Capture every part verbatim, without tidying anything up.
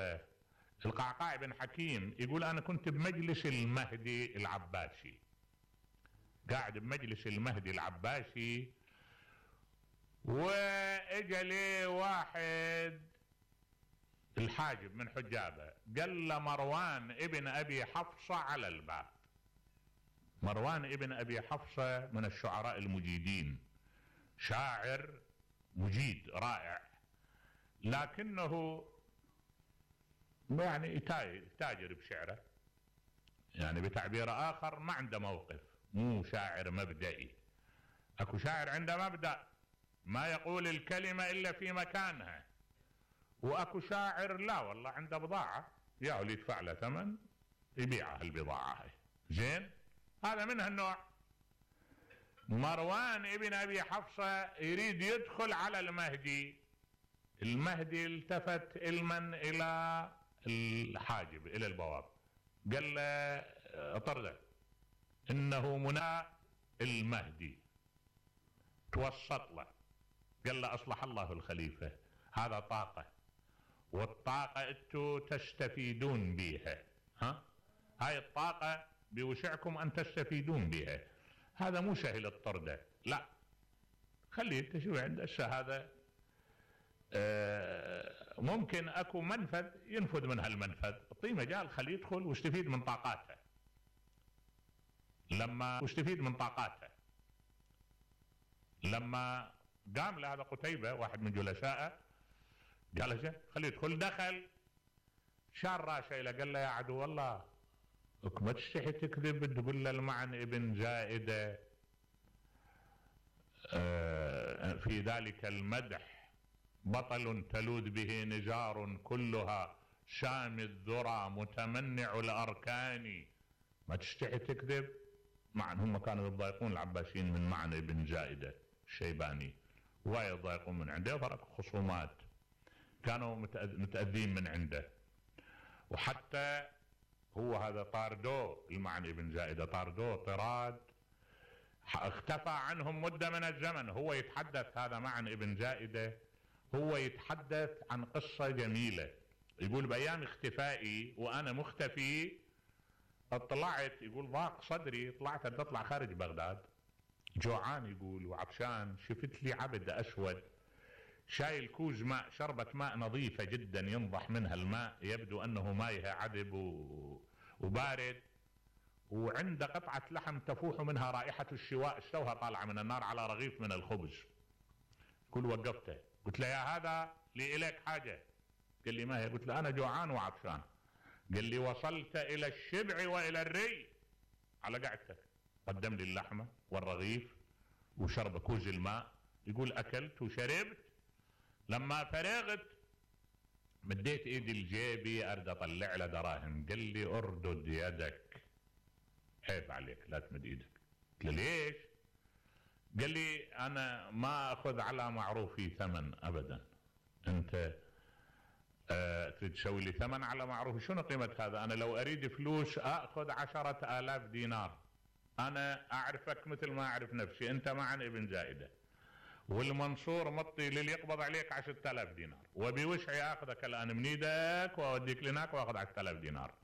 هذا القعقاع بن حكيم يقول انا كنت بمجلس المهدي العباسي، قاعد بمجلس المهدي العباسي، واجا لي واحد الحاجب من حجابه قال له مروان ابن ابي حفصة على الباب. مروان ابن ابي حفصة من الشعراء المجيدين، شاعر مجيد رائع، لكنه يعني تاجر بشعره، يعني بتعبير اخر ما عنده موقف، مو شاعر مبدئي. اكو شاعر عنده مبدأ ما يقول الكلمة الا في مكانها، واكو شاعر لا والله عنده بضاعة يا اللي يدفع له ثمن يبيعها البضاعة هاي. زين، هذا من هالنوع. مروان ابن ابي حفصة يريد يدخل على المهدي، المهدي التفت المن الى الحاجب الى البواب قال له اطرده انه منى المهدي. توسط له قال له اصلح الله الخليفة، هذا طاقة، والطاقة انتو تستفيدون بها، ها هاي الطاقة بوسعكم ان تستفيدون بها، هذا مو سهل الطردة، لا خليه انت شو عنده هذا آه ممكن اكو منفذ ينفذ من هالمنفذ، اعطيه مجال خليه يدخل واستفيد من طاقاته. لما واستفيد من طاقاته لما قام له هذا قتيبة واحد من جلسائه قال له خليه يدخل، دخل شار راسه له قال له يا عدو الله ما تستحي تكذب تقول له المعن ابن زائدة آه في ذلك المدح بطل تلوذ به نزار كلها شام الذرى متمنع الاركان، ما تستحي تكذب. معن هم كانوا يضايقون العباسيين من معن ابن زائدة الشيباني، وايد يضايقون من عنده، وصارت خصومات، كانوا متأذين من عنده. وحتى هو هذا طاردوه المعن ابن زائدة، طاردوه طراد، اختفى عنهم مدة من الزمن. هو يتحدث هذا معن ابن زائدة، هو يتحدث عن قصة جميلة، يقول بأيام اختفائي وأنا مختفي اطلعت، يقول ضاق صدري، طلعت تطلع خارج بغداد جوعان يقول وعطشان، شفت لي عبد أسود شايل كوز ماء، شربة ماء نظيفة جدا ينضح منها الماء، يبدو أنه مايها عذب وبارد، وعنده قطعة لحم تفوح منها رائحة الشواء، استوها طالعة من النار على رغيف من الخبز. كل وقفته قلت له يا هذا لي إليك حاجة، قال لي ما هي؟ قلت له أنا جوعان وعطشان. قال لي وصلت إلى الشبع وإلى الري على قعدتك، قدم لي اللحمة والرغيف وشرب كوز الماء، يقول أكلت وشربت، لما فرغت مديت ايدي لجيبي ارد اطلع له دراهم، قال لي اردد يدك، عيب عليك لا تمد ايدك. قلت له ليش؟ قال لي انا ما اخذ على معروفي ثمن ابدا، انت آه تريد تسوي لي ثمن على معروفي، شنو قيمة هذا؟ انا لو اريد فلوس اخذ عشرة الاف دينار، انا اعرفك مثل ما اعرف نفسي، انت معن ابن زائدة، والمنصور مطي للي يقبض عليك عشرة آلاف دينار، وبوسعي اخذك الان من ايدك واوديك لهناك واخذ عشرة آلاف دينار،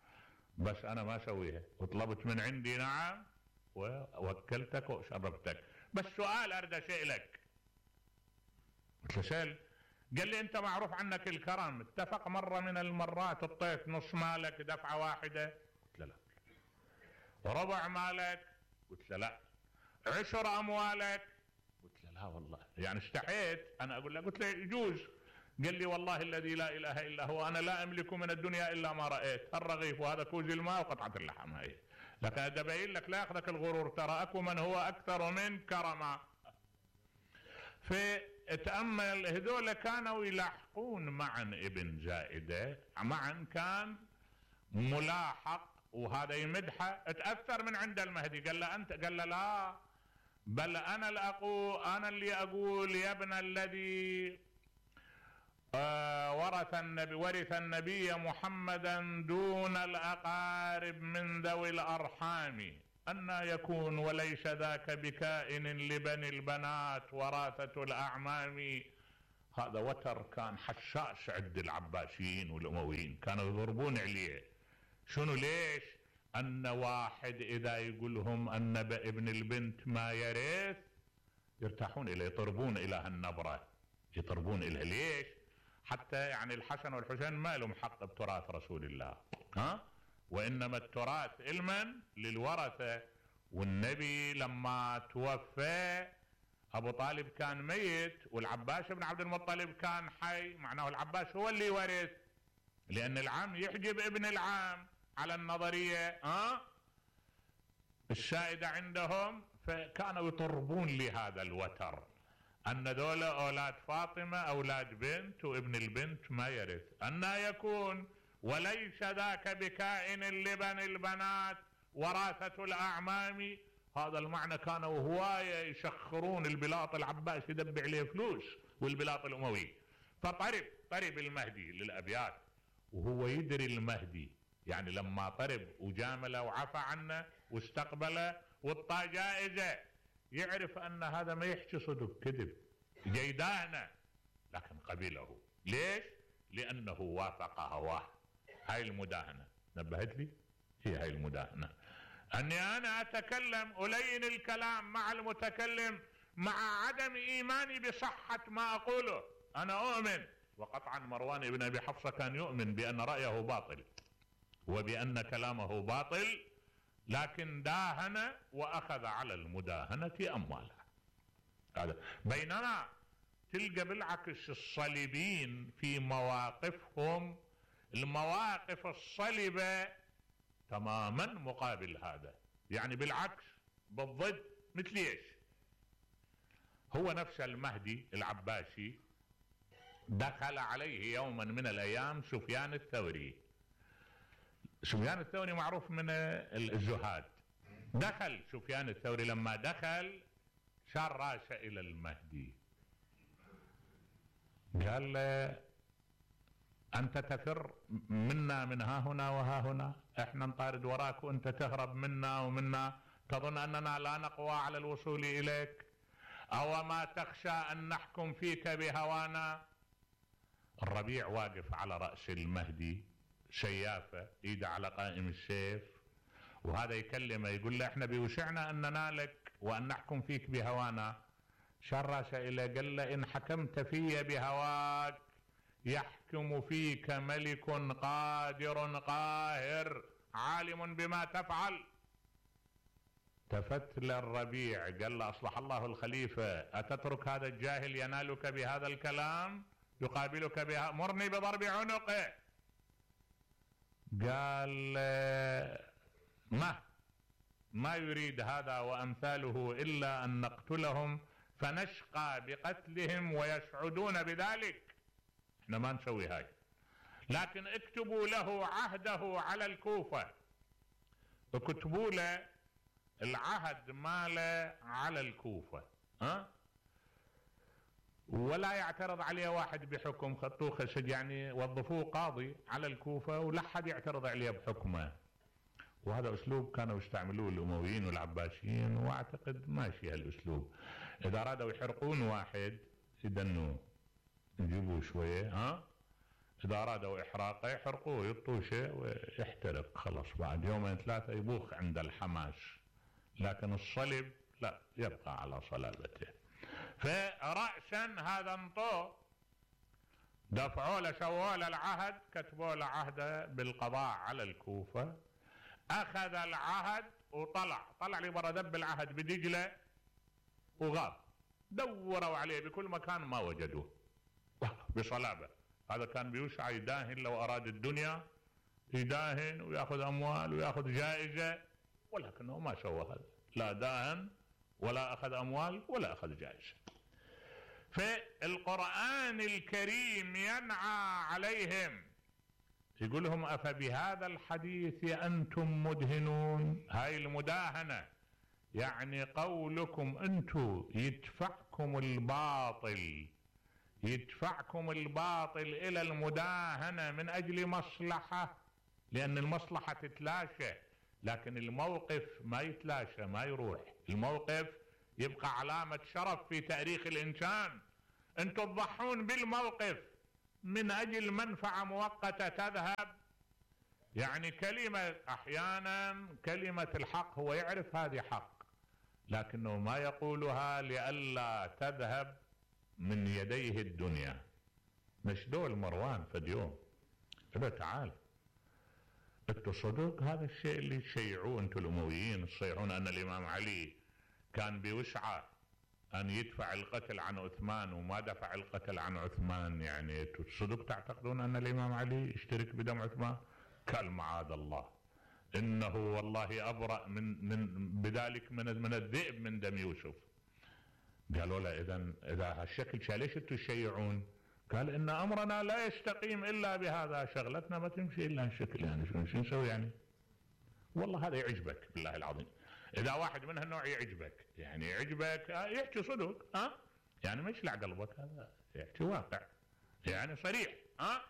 بس انا ما اسويها، وطلبت من عندي نعم ووكلتك وشربتك، بس سؤال اريد اسالك. قلت له سأل. قال لي انت معروف عنك الكرم، اتفق مرة من المرات اعطيت نص مالك دفعة واحدة؟ قلت له لا. ربع مالك؟ قلت له لا. عشر اموالك؟ قلت له لا والله، يعني استحيت انا اقول له، قلت له يجوز. قال لي والله الذي لا اله الا هو انا لا املك من الدنيا الا ما رايت، الرغيف وهذا كوز الماء وقطعه اللحم هاي، لكن ابين لك لا ياخذك الغرور، ترى اكو من هو اكثر من كرما. فتأمل هذول كانوا يلاحقون معن ابن زائدة، معن كان ملاحق وهذا يمدحه، اتأثر من عند المهدي، قال له انت، قال له لا بل انا اللي اقول، انا اللي اقول يا ابن الذي آه ورث النبي ورث النبي محمدا دون الاقارب من ذوي الارحام، أن يكون وليس ذاك بكائن لبني البنات وراثة الاعمام، هذا وتر كان حشاش عند العباسيين والأمويين، كانوا يضربون عليه. شنو ليش؟ أن واحد إذا يقولهم أن ابن البنت ما يرث يرتاحون إليه، يطربون إلى هالنبرة، يطربون إليه. ليش؟ حتى يعني الحسن والحسين ما لهم حق بتراث رسول الله، ها؟ وإنما التراث المن للورثة. والنبي لما توفى أبو طالب كان ميت والعباس بن عبد المطلب كان حي، معناه العباس هو اللي ورث، لأن العم يحجب ابن العم على النظرية ها السائدة عندهم. فكانوا يطربون لهذا الوتر أن ذولا أولاد فاطمة أولاد بنت وابن البنت ما يرث، أن يكون وليس ذاك بكائن لبن البنات وراثة الأعمام. هذا المعنى كانوا هواية يشخرون البلاط العباس يدبع عليه فلوس والبلاط الأموي. فطرب طرب المهدي للأبيات وهو يدري المهدي، يعني لما طرب وجامله وعفى عنه واستقبله وطى جائزة يعرف أن هذا ما يحكي صدق كذب جيدانه، لكن قبله. ليش؟ لأنه وافق هواه. هاي المداهنة نبهت لي، هي هاي المداهنة، أني أنا أتكلم ألين الكلام مع المتكلم مع عدم إيماني بصحة ما أقوله. أنا أؤمن، وقطعا مروان بن أبي حفصة كان يؤمن بأن رأيه باطل وبأن كلامه باطل، لكن داهن وأخذ على المداهنة أموالها. هذا. بينما تلقى بالعكس الصليبين في مواقفهم المواقف الصلبة تماما مقابل هذا، يعني بالعكس بالضد. مثل ايش؟ هو نفس المهدي العباسي دخل عليه يوما من الايام سفيان الثوري. سفيان الثوري معروف من الزهاد. دخل سفيان الثوري، لما دخل شار راسه الى المهدي قال له أنت تفر منا من ها هنا وها هنا، احنا نطارد وراك وانت تهرب منا ومنا، تظن أننا لا نقوى على الوصول إليك؟ أو ما تخشى أن نحكم فيك بهوانا؟ الربيع واقف على رأس المهدي سيافة ايده على قائم السيف، وهذا يكلمه يقول له احنا بيوسعنا أن ننالك وأن نحكم فيك بهوانا. شرس إلى قال له إن حكمت في بهواك يحكم فيك ملك قادر قاهر عالم بما تفعل. التفت للربيع قال له أصلح الله الخليفة، أتترك هذا الجاهل ينالك بهذا الكلام يقابلك بها؟ مرني بضرب عنقه. قال ما ما يريد هذا وأمثاله إلا أن نقتلهم فنشقى بقتلهم ويسعدون بذلك، احنا ما نسوي هاي، لكن اكتبوا له عهده على الكوفة، اكتبوا له العهد ماله على الكوفة، ها؟ ولا يعترض عليه واحد بحكم، خطوه خشج يعني وظفوه قاضي على الكوفة ولا حد يعترض عليه بحكمه. وهذا اسلوب كانوا يستعملوه الامويين والعباسيين، واعتقد ماشي هالاسلوب. اذا ارادوا يحرقون واحد يدنوه يجيبوه شوية، ها؟ اذا ارادوا احراقه يحرقوه يطوه شيء ويحترق، خلاص بعد يومين ثلاثة يبوخ عند الحماس. لكن الصلب لا، يبقى على صلابته. فرأسا هذا انطوه، دفعوا له سووا له العهد، كتبوا له عهده بالقضاء على الكوفة. اخذ العهد وطلع طلع لي برا دب العهد بدجلة وغاب. دوروا عليه بكل مكان ما وجدوه بصلابة. هذا كان بيوسع يداهن، لو اراد الدنيا يداهن وياخذ اموال وياخذ جائزة، ولكنه ما سوى هذا، لا داهن ولا اخذ اموال ولا اخذ جائزة. فالقرآن الكريم ينعى عليهم، يقول لهم افبهذا الحديث انتم مدهنون. هاي المداهنة يعني قولكم انتم يدفعكم الباطل يدفعكم الباطل الى المداهنة من اجل مصلحة، لان المصلحة تتلاشى، لكن الموقف ما يتلاشى ما يروح. الموقف يبقى علامة شرف في تاريخ الانسان. انتم تضحون بالموقف من اجل منفعة مؤقتة تذهب. يعني كلمة احيانا كلمة الحق هو يعرف هذه حق، لكنه ما يقولها لئلا تذهب من يديه الدنيا. مشدول مروان فد يوم قال تعال انتو صدق هذا الشيء اللي تشيعوه انتو الامويين، تصيحون ان الامام علي كان بوسعه ان يدفع القتل عن عثمان وما دفع القتل عن عثمان، يعني انتو صدق تعتقدون ان الامام علي يشترك بدم عثمان؟ قال معاذ الله، انه والله ابرأ من من بذلك من من الذئب من دم يوسف. قالوا له اذا اذا هالشكل ليش انتو تشيعون؟ قال ان امرنا لا يستقيم الا بهذا، شغلتنا ما تمشي الا هالشكل، يعني شو شو نسوي يعني؟ والله هذا يعجبك بالله العظيم، اذا واحد من هالنوع يعجبك، يعني يعجبك يحكي صدق، ها يعني ما يشلع قلبك، هذا يحكي واقع يعني صريح، ها.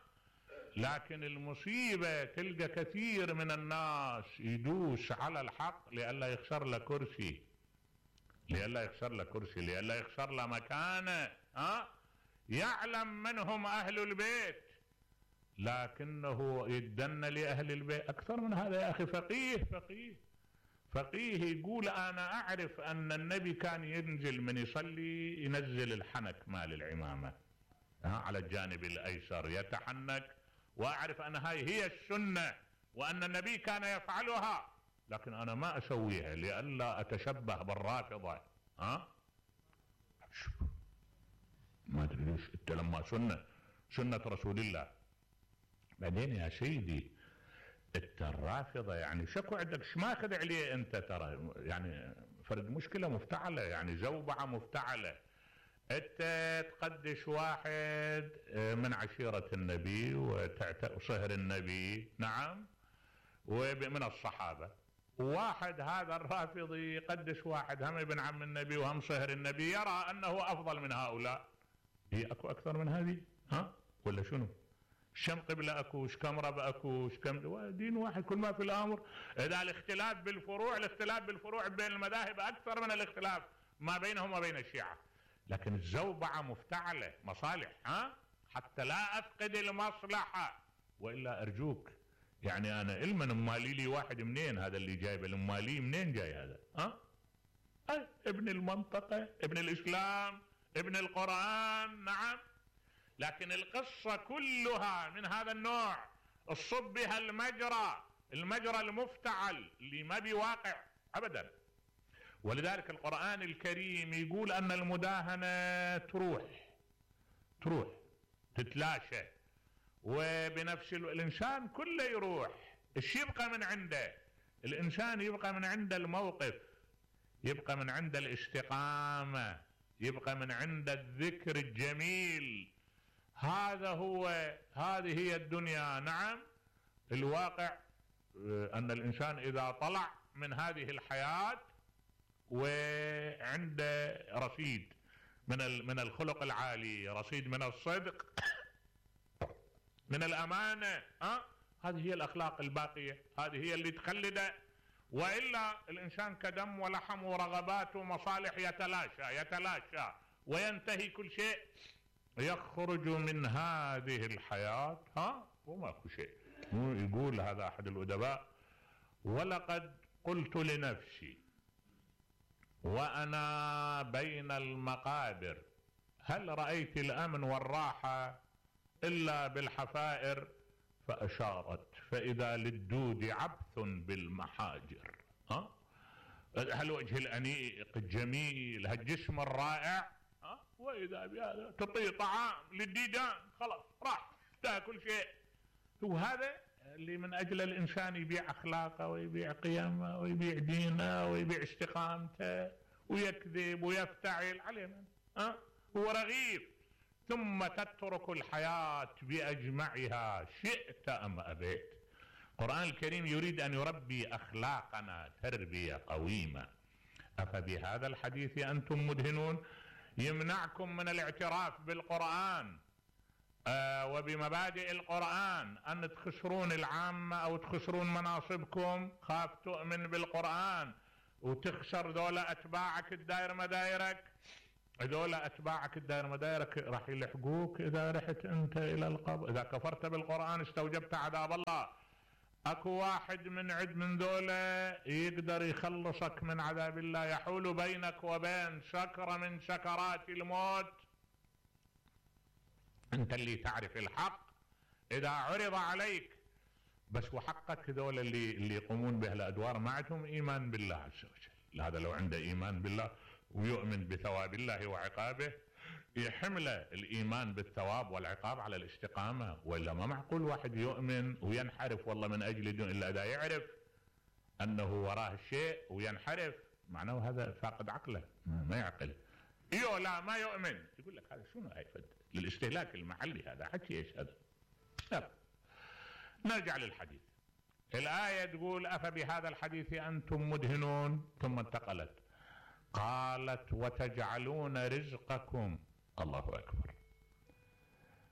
لكن المصيبة تلقى كثير من الناس يدوس على الحق لئلا يخسر له كرسي، لئلا يخسر له كرسي، لئلا يخسر له مكانه، ها. يعلم من هم أهل البيت لكنه يدن لأهل البيت أكثر من هذا. يا أخي فقيه فقيه فقيه يقول أنا أعرف أن النبي كان ينزل من يصلي ينزل الحنك مال العمامة على الجانب الأيسر يتحنك، وأعرف أن هاي هي السنة وأن النبي كان يفعلها، لكن أنا ما أسويها لئلا أتشبه بالرافضة، ها. ما ادري ليش انت لما سنه سنه رسول الله. بعدين يا سيدي انت الرافضه يعني شكو عندك ايش ماخذ عليه انت، ترى يعني فرد مشكله مفتعله، يعني زوبعه مفتعله. انت تقدش واحد من عشيره النبي وصهر النبي، نعم، ومن الصحابه، وواحد هذا الرافضي يقدس واحد هم ابن عم النبي وهم صهر النبي، يرى انه افضل من هؤلاء. هي اكو اكثر من هذه، ها ولا شنو؟ شم قبله اكو، كم رب اكو، كم دين واحد، كل ما في الامر. اذا الاختلاف بالفروع، الاختلاف بالفروع بين المذاهب اكثر من الاختلاف ما بينهم وبين الشيعه، لكن الزوبعه مفتعله مصالح، ها، حتى لا افقد المصلحه. والا ارجوك يعني انا علما امالي لي واحد منين هذا اللي جايب الامالي منين جاي هذا، ها؟ أي ابن المنطقه، ابن الاسلام، ابن القرآن، نعم. لكن القصة كلها من هذا النوع، الصب بها المجرى، المجرى المفتعل اللي ما بواقع أبدا. ولذلك القرآن الكريم يقول أن المداهنة تروح تروح تتلاشى، وبنفس الإنسان كله يروح. إيش يبقى من عنده؟ الإنسان يبقى من عنده الموقف، يبقى من عنده الاستقامة، يبقى من عند الذكر الجميل. هذا هو، هذه هي الدنيا، نعم. الواقع أن الإنسان إذا طلع من هذه الحياة وعنده رصيد من من الخلق العالي، رصيد من الصدق، من الأمانة، أه؟ هذه هي الأخلاق الباقية، هذه هي اللي تخلده. وإلا الإنسان كدم ولحم ورغبات ومصالح يتلاشى يتلاشى وينتهي كل شيء، يخرج من هذه الحياة ها وماكو شيء. يقول هذا أحد الأدباء: ولقد قلت لنفسي وأنا بين المقابر هل رأيت الأمن والراحة إلا بالحفائر؟ فأشارت فإذا للدود عبث بالمحاجر. ها؟ هالوجه الأنيق الجميل، هالجسم الرائع، ها؟ وإذا بهذا تطيع طعام للديدان، خلاص راح تاكل شيء. وهذا اللي من أجل الإنسان يبيع أخلاقه ويبيع قيمه ويبيع دينه ويبيع استقامته ويكذب ويفتعل عليه من؟ ها؟ هو رغيف. ثم تترك الحياة بأجمعها شئت أم أبيت. القرآن الكريم يريد أن يربي أخلاقنا تربية قويمة. أفبهذا الحديث أنتم مدهنون؟ يمنعكم من الاعتراف بالقرآن آه وبمبادئ القرآن أن تخسرون العامة أو تخسرون مناصبكم. خاف تؤمن بالقرآن وتخسر ذولا أتباعك الدائر مدايرك. هذول اتباعك الدائره مدايرك راح يلحقوك اذا رحت انت الى القبر، اذا كفرت بالقران استوجبت عذاب الله. اكو واحد من عد من ذولا يقدر يخلصك من عذاب الله، يحول بينك وبين سكرة من سكرات الموت. انت اللي تعرف الحق اذا عرض عليك بس، وحقك هذول اللي اللي يقومون بهالادوار ما عندهم ايمان بالله عز وجل. هذا لو عنده ايمان بالله ويؤمن بثواب الله وعقابه يحمله الايمان بالثواب والعقاب على الاستقامه، والا ما معقول واحد يؤمن وينحرف والله من اجل دون الا اذا يعرف انه وراه الشيء وينحرف، معناه هذا فاقد عقله ما يعقل. ايوه لا ما يؤمن، يقول لك هذا شنو هيفد للاستهلاك المحلي، هذا حكي ايش هذا. يلا نرجع للحديث. الايه تقول افبهذا الحديث انتم مدهنون، ثم انتقلت قالت وتجعلون رزقكم، الله اكبر،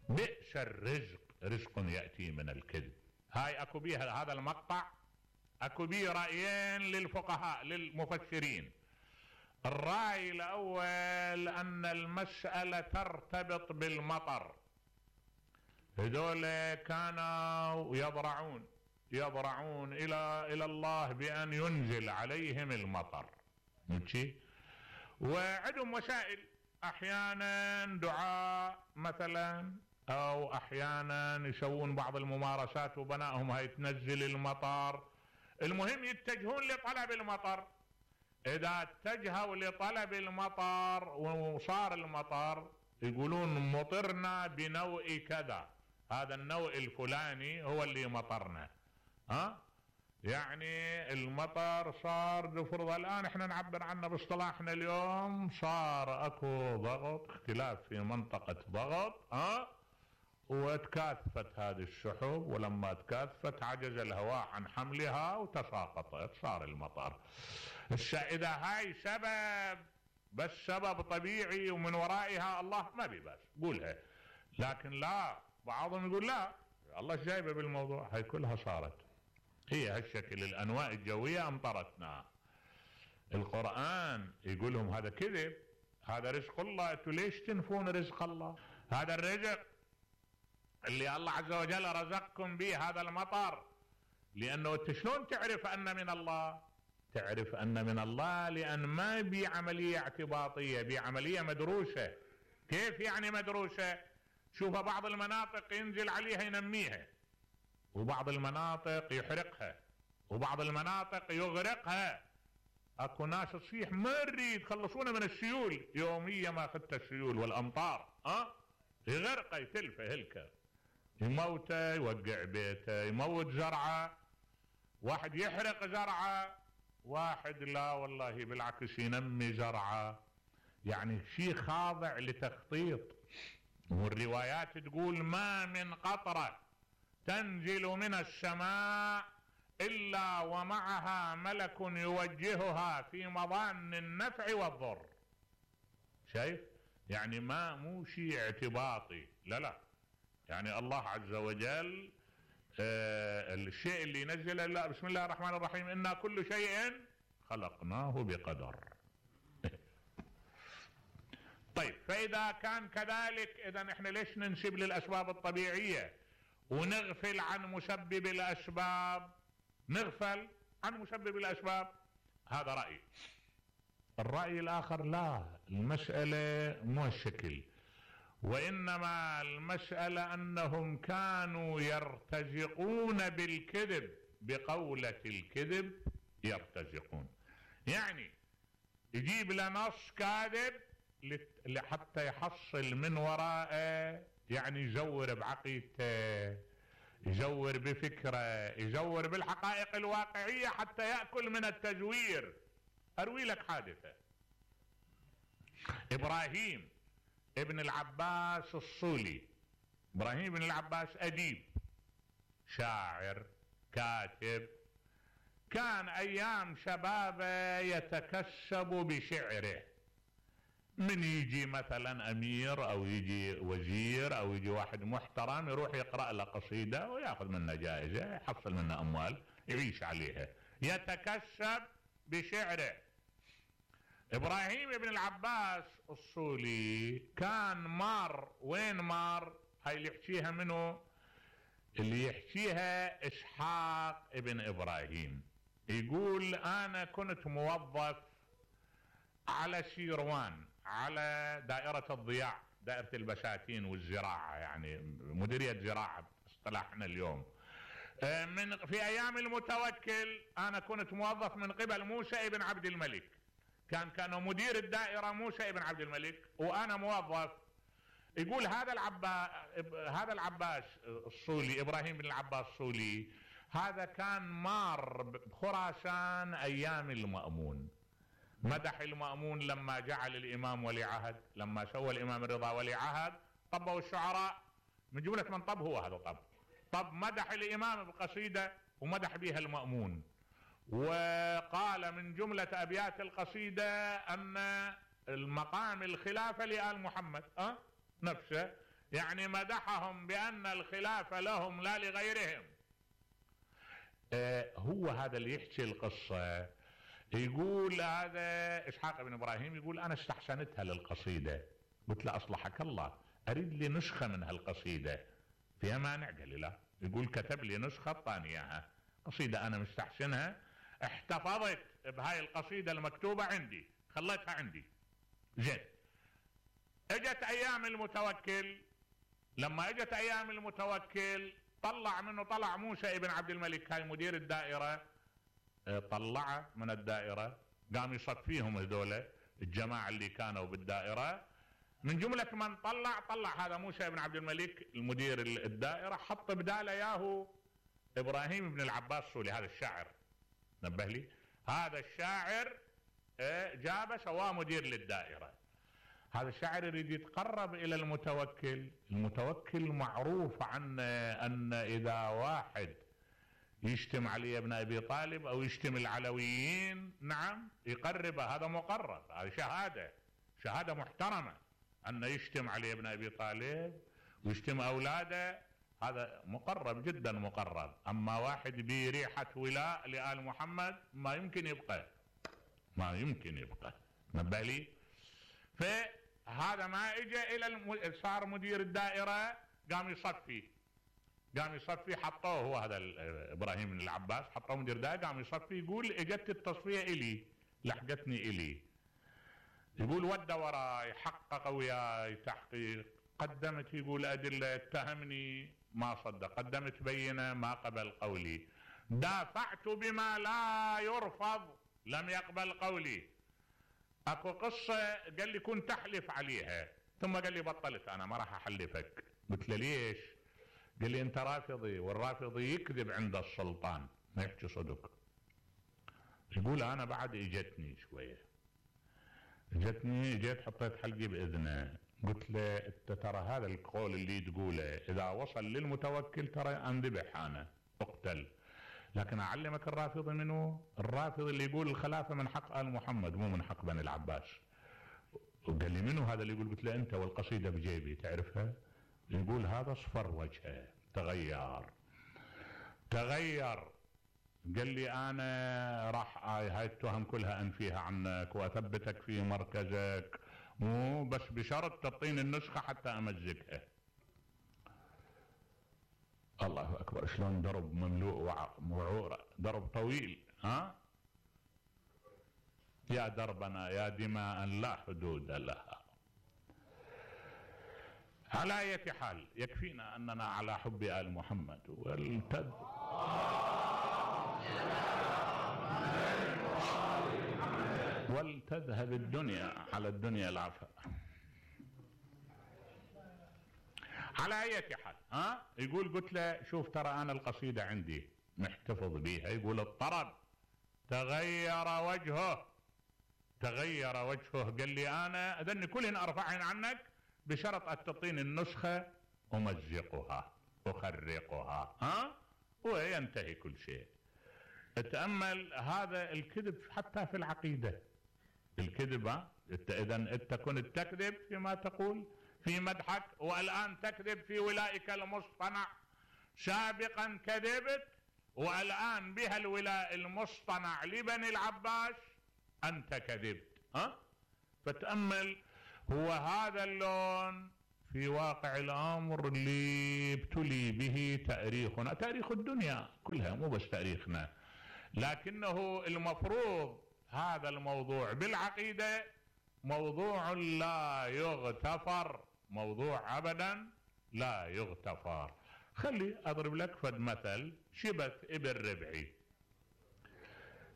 بئس الرزق رزق ياتي من الكذب. هاي اكو بيها هذا المقطع اكو بيه رايين للفقهاء للمفسرين. الراي الاول ان المساله ترتبط بالمطر، هذول كانوا يضرعون يضرعون الى الى الله بان ينزل عليهم المطر، ماشي، وعندهم وسائل، احيانا دعاء مثلا، او احيانا يسوون بعض الممارسات وبنائهم هاي تنزل المطر. المهم يتجهون لطلب المطر. اذا اتجهوا لطلب المطر وصار المطر يقولون مطرنا بنوع كذا، هذا النوع الفلاني هو اللي مطرنا. ها يعني المطر صار نفرض الان احنا نعبر عنه باصطلاحنا اليوم صار اكو ضغط، اختلاف في منطقة ضغط، ها وتكاثفت هذه السحب، ولما تكاثفت عجز الهواء عن حملها وتساقطت صار المطر. اذا هاي سبب بس سبب طبيعي ومن ورائها الله ما بيباس قولها، لكن لا، بعضهم يقول لا الله جايبه بالموضوع، هاي كلها صارت هي هالشكل، الانواع الجوية امطرتنا. القرآن يقول لهم هذا كذب، هذا رزق الله، انتوا ليش تنفون رزق الله؟ هذا الرزق اللي الله عز وجل رزقكم به هذا المطر، لانه انت شلون تعرف ان من الله؟ تعرف ان من الله لان ما بي عملية اعتباطية، بي عملية مدروسة. كيف يعني مدروسة؟ شوف بعض المناطق ينزل عليها ينميها، وبعض المناطق يحرقها، وبعض المناطق يغرقها. اكو ناس تصيح ما نريد خلصونا من السيول، يوميا ما اخذت السيول والامطار، ها يغرقه يتلفه هلكه، يموته، يوقع بيته، يموت زرعه، واحد يحرق زرعه، واحد لا والله بالعكس ينمي زرعه. يعني شيء خاضع لتخطيط. والروايات تقول ما من قطره تنزل من السماء إلا ومعها ملك يوجهها في مظان النفع والضر. شايف؟ يعني ما مو شيء اعتباطي، لا لا، يعني الله عز وجل آه الشيء اللي نزله، لا بسم الله الرحمن الرحيم إنا كل شيء خلقناه بقدر. طيب فإذا كان كذلك إذا احنا ليش ننسب للأسباب الطبيعية ونغفل عن مسبب الأسباب؟ نغفل عن مسبب الأسباب، هذا رأي. الرأي الآخر لا، المسألة مو الشكل، وإنما المسألة أنهم كانوا يرتزقون بالكذب، بقولة الكذب يرتزقون. يعني يجيب لنص كاذب حتى يحصل من وراءه، يعني يزور بعقيدته، يزور بفكره، يزور بالحقائق الواقعية حتى يأكل من التزوير. أروي لك حادثة. إبراهيم ابن العباس الصولي، إبراهيم ابن العباس أديب، شاعر، كاتب، كان أيام شبابه يتكسب بشعره. من يجي مثلا أمير أو يجي وزير أو يجي واحد محترم يروح يقرأ له قصيدة ويأخذ منها جائزة، يحصل منها أموال يعيش عليها، يتكسب بشعره. ابراهيم ابن العباس الصولي كان مار، وين مار؟ هاي اللي يحكيها منه، اللي يحكيها اسحاق ابن ابراهيم. يقول انا كنت موظف على شيروان، على دائرة الضياع، دائرة البساتين والزراعة، يعني مديرية زراعة اصطلاحنا اليوم. من في ايام المتوكل انا كنت موظف من قبل موسى ابن عبد الملك، كان كان مدير الدائرة موسى ابن عبد الملك وانا موظف. يقول هذا العباس هذا العباس الصولي، ابراهيم بن العباس الصولي، هذا كان مار بخراسان ايام المأمون، مدح المأمون لما جعل الامام ولي عهد، لما سوى الامام الرضا ولي عهد، طبوا الشعراء من جملة من طب هو هذا طب طب مدح الامام بقصيدة ومدح بها المأمون، وقال من جملة ابيات القصيدة ان المقام الخلافة لآل محمد أه؟ نفسه، يعني مدحهم بان الخلافة لهم لا لغيرهم. أه هو هذا اللي يحكي القصة. يقول هذا اسحاق بن ابراهيم، يقول انا استحسنتها للقصيدة، قلت له اصلحك الله اريد لي نسخة من هالقصيدة، فيها مانع؟ قال لي لا. يقول كتب لي نسخة طاني اياها، قصيدة انا مستحسنها، احتفظت بهاي القصيدة المكتوبة عندي، خليتها عندي. زين، اجت ايام المتوكل، لما اجت ايام المتوكل طلع منه، طلع موسى ابن عبد الملك هاي مدير الدائرة، طلعه من الدائرة، قام يصفيهم هذول الجماعة اللي كانوا بالدائرة، من جملة من طلع طلع هذا موسى ابن عبد الملك المدير الدائرة، حط بداله ياهو ابراهيم بن العباس الصولي، هذا الشاعر، نبه لي، هذا الشاعر جابه سواه مدير للدائرة. هذا الشاعر يريد يتقرب الى المتوكل، المتوكل معروف عنه ان اذا واحد يشتم علي ابن ابي طالب او يشتم العلويين نعم يقربه، هذا مقرب، هذه شهادة شهادة محترمة، ان يشتم علي ابن ابي طالب ويشتم اولاده، هذا مقرب جدا مقرب. اما واحد بريحة ولاء لآل محمد ما يمكن يبقى، ما يمكن يبقى، نبه لي. فهذا ما اجى الى الم... صار مدير الدائرة، قام يصفي قام يصفي حطوه هو هذا ابراهيم بن العباس، حطوه مدير الدائرة قام يصفي. يقول اجت التصفية الي، لحقتني الي، يقول ود وراي، حقق وياي تحقيق، قدمت يقول ادلة، اتهمني ما صدق، قدمت بينة ما قبل قولي، دافعت بما لا يرفض لم يقبل قولي. اكو قصة قال لي كنت احلف عليها، ثم قال لي بطلت انا ما راح احلفك. قلت له ليش؟ قال لي انت رافضي، والرافضي يكذب عند السلطان ما يحكي صدق. يقول انا بعد اجتني شوية، اجتني جيت حطيت حلقي باذنه، قلت له انت ترى هذا القول اللي تقوله اذا وصل للمتوكل ترى انذبح انا اقتل، لكن اعلمك الرافضي منه، الرافضي اللي يقول الخلافة من حق آل محمد مو من حق بني العباس. وقال لي منه هذا اللي يقول؟ قلت له انت والقصيدة بجيبي تعرفها؟ يقول هذا اصفر وجهه، تغير تغير قال لي انا راح هاي التهم كلها انفيها عنك واثبتك في مركزك، مو بس بشرط تعطيني النسخة حتى امزقها. الله اكبر، شلون درب مملوء وعورة، درب طويل. ها يا دربنا يا دماء لا حدود لها. على اية حال يكفينا اننا على حب آل محمد، والتد ولتذهب الدنيا على الدنيا العفا. على اية حال ها يقول قلت له شوف ترى انا القصيدة عندي محتفظ بيها. يقول الطرب تغير وجهه، تغير وجهه، قال لي انا اذني كلهن ارفعهن عنك بشرط ان تعطيني النسخة امزقها اخرقها ها وينتهي كل شيء. اتأمل هذا الكذب حتى في العقيدة، الكذب ها انت اذا انت كنت تكذب فيما تقول في مدحك، والان تكذب في ولائك المصطنع. سابقا كذبت والان بها الولاء المصطنع لبني العباس انت كذبت ها؟ فتأمل، هو هذا اللون في واقع الأمر اللي ابتلي به تاريخنا، تاريخ الدنيا كلها مو بس تاريخنا، لكنه المفروض هذا الموضوع بالعقيدة موضوع لا يغتفر، موضوع أبدا لا يغتفر. خلي أضرب لك فد مثل. شبت ابن ربعي،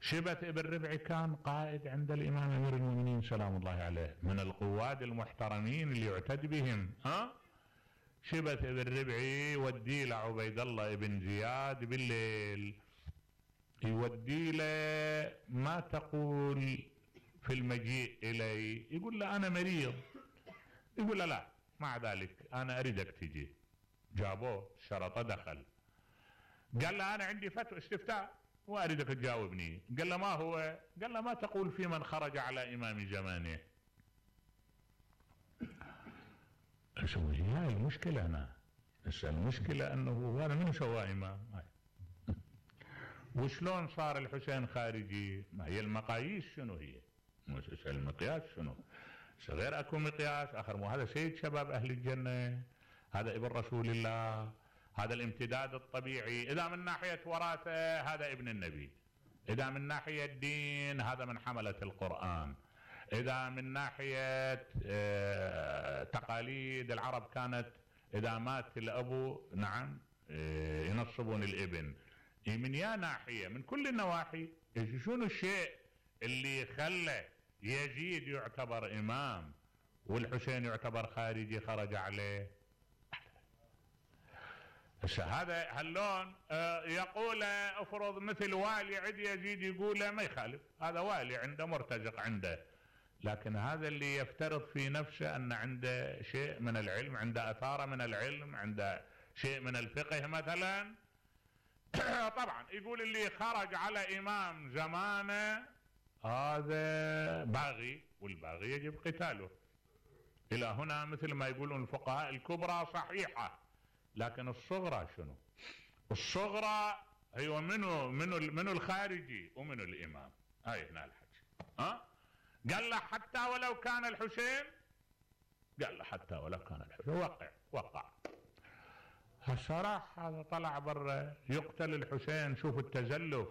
شبت ابن ربعي كان قائد عند الإمام أمير المؤمنين سلام الله عليه، من القواد المحترمين اللي يعتد بهم. ها؟ شبت ابن ربعي يودي له عبيد الله ابن زياد بالليل، يودي له ما تقول في المجيء إلي؟ يقول له أنا مريض. يقول له لا، مع ذلك أنا أريدك تجي. جابوه شرطه دخل، قال له أنا عندي فتوى استفتاء وأريدك تجاوبني. قال له ما هو؟ قال له ما تقول في من خرج على إمام زمانه؟ شو هي المشكلة؟ أنا المشكلة أنه هذا من سوى إمام. وشلون صار الحسين خارجي؟ ما هي المقاييس شنو هي؟ المقياس شنو؟ غير اكو مقياس اخر، مو هذا سيد شباب اهل الجنة، هذا ابن رسول الله، هذا الامتداد الطبيعي. اذا من ناحية وراثة هذا ابن النبي، اذا من ناحية الدين هذا من حملة القرآن، اذا من ناحية تقاليد العرب كانت اذا مات الابو نعم ينصبون الابن. من يا ناحية، من كل النواحي. شنو الشيء اللي خلى يزيد يعتبر إمام والحسين يعتبر خارجي خرج عليه؟ هذا هاللون يقول افرض مثل والي عند يزيد يقول ما يخالف، هذا والي عنده مرتزق عنده، لكن هذا اللي يفترض في نفسه أن عنده شيء من العلم، عنده أثارة من العلم، عنده شيء من الفقه مثلا. طبعا يقول اللي خرج على إمام زمانه هذا باغي، والباغي يجب قتاله. إلى هنا مثل ما يقولون الفقهاء الكبرى صحيحة، لكن الصغرى شنو؟ الصغرى هي منو منو منو الخارجي ومنو الإمام. هاي هنا الحكي. ها؟ قال له حتى ولو كان الحسين، قال له حتى ولو كان الحسين، وقع وقع. الصراحة هذا طلع برا يقتل الحسين. شوف التزلف،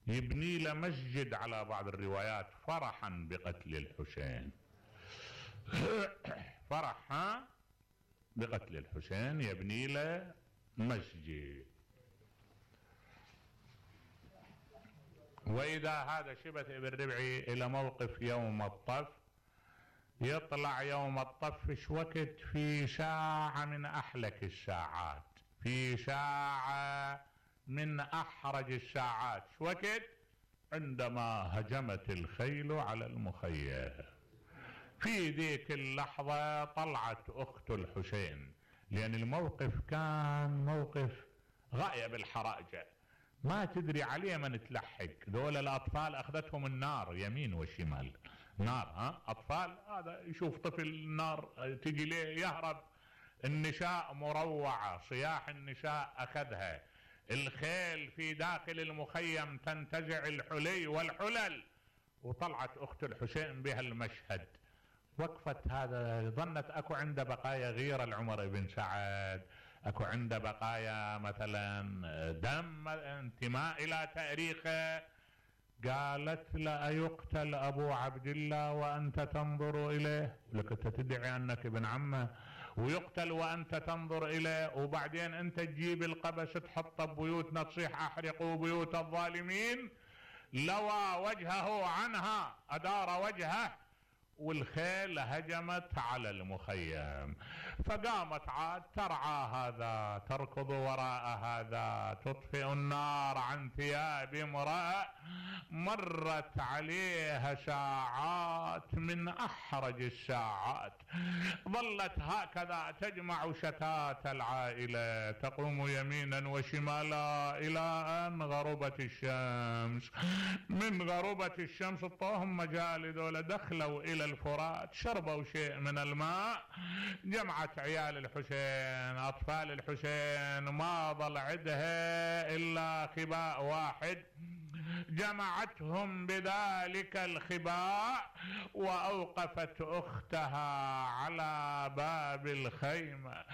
يبني له مسجد على بعض الروايات فرحا بقتل الحسين. فرح ها بقتل الحسين يبني له مسجد. وإذا هذا شبت ابن ربعي إلى موقف يوم الطف، يطلع يوم الطف ايش وقت؟ في ساعة من أحلك الساعات، في ساعة من أحرج الساعات. ايش وقت؟ عندما هجمت الخيل على المخيم. في ذيك اللحظة طلعت أخت الحسين، لأن الموقف كان موقف غاية بالحراجة، ما تدري عليه من تلحق. دول الأطفال أخذتهم النار يمين وشمال، نار ها أطفال. هذا يشوف طفل نار تجي ليه يهرب. النساء مروعة، صياح النساء أخذها. الخيل في داخل المخيم تنتزع الحلي والحلل. وطلعت أخت الحسين بها المشهد، وقفت. هذا ظنت أكو عنده بقايا غيرة العمر بن سعد، أكو عنده بقايا مثلا دم انتماء إلى تاريخه. قالت لا يقتل أبو عبد الله وأنت تنظر إليه؟ لك أنت تدعي أنك ابن عمه ويقتل وأنت تنظر إليه، وبعدين أنت تجيب القبس تحطه ببيوتنا تصيح أحرقوا بيوت الظالمين. لوى وجهه عنها، أدار وجهه، والخيل هجمت على المخيم. فقامت عاد ترعى هذا، تركض وراء هذا، تطفئ النار عن ثياب امرأة مرت عليها ساعات من أحرج الساعات. ظلت هكذا تجمع شتات العائلة، تقوم يمينا وشمالا إلى أن غربت الشمس. من غربت الشمس طوهم مجال دولة، دخلوا إلى الفرات، شربوا شيء من الماء. جمعت عيال الحسين، أطفال الحسين، ما ظل عندها إلا خباء واحد. جمعتهم بذلك الخباء وأوقفت أختها على باب الخيمة.